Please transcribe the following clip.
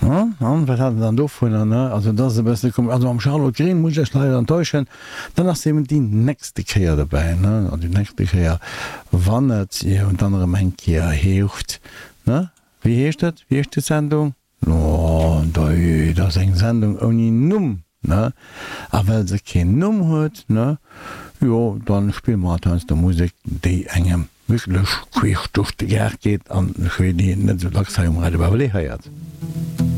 An wat hat en dann dovunner, ne? Also dat ass e bësse komesch. Also mam Charlotte Green muss ech iech leider enttäuschen, dann ass se eben déi nächste Kéier dobäi, ne? An déi nächste Kéier, wann et jo dann erëm eng Kéier heescht, ne? Wéi heescht et? Wéi heescht déi Sendung? Oh, dei, dat ass eng Sendung ouni Numm, ne? A well se keen Numm huet, ne, jo, dann spille mer halt heiansdo Musek, déi engem wierklech queesch duerch de Gaart geet an ech wéi déi een net esou dacks hei um Radio Babalé héiert.